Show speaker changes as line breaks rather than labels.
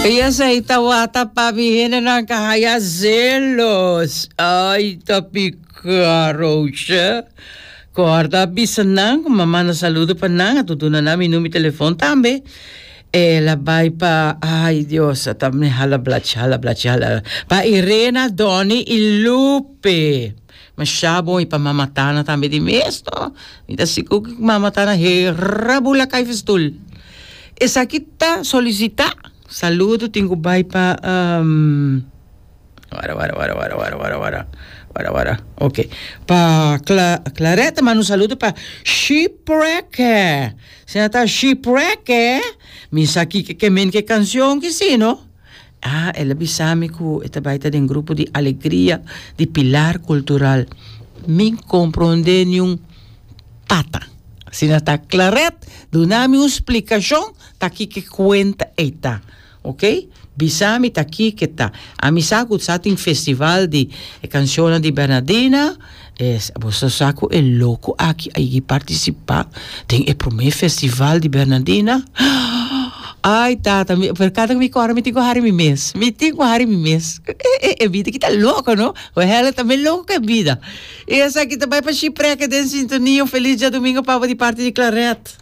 I esei tawata pa mi hendenan ka haya zelos. Ai, ta pica, Roosje. Corda bisa nan ku m'a manda saludo pa nan, a duna nan mi number di telefon tambe. El a bai pa, ai Dios, a ta mi hala blachi, hala blachi, hala. Pa Irena, Donny i Lupe. Masha bon i pa Mama Tana tambe di mes no. Mi ta sigur ku Mama Tana hera bula kai festoel. Esaki ta solisitá. Saludo tin ku bai pa wara wara wara wara wara wara wara wara wara ok pa Cla Claretta manda un saludo pa Shipreke. Sina ta Shipreke mi sa kiko ke men ke kanshon ki si no. Ah, el a bisa mi ku e ta bai ta den grupo di Alegria di Pilar Cultural. Mi komprondé niun pata. Asina ta Claret, duna mi un splikashon ta kiko e kuenta ei ta. Oké? Bisa mi ta kiko ta. Ami sa ku sa tin festival di e kanshonnan di Bernadina. Es, boso sa ku e loko aki a yigi partisipá den e promé festival di Bernadina? Ai tata, mi, pero kada ku mi kòrda mi tin ku hari mi mes, mi tin ku hari mi mes. E, e bida ki ta loko, no? Wèl, e ta mes loko ku e bida. I esaki ta bai pa Shipreke den sintonia. Un felis djadumingu pa bo di parti di Claret.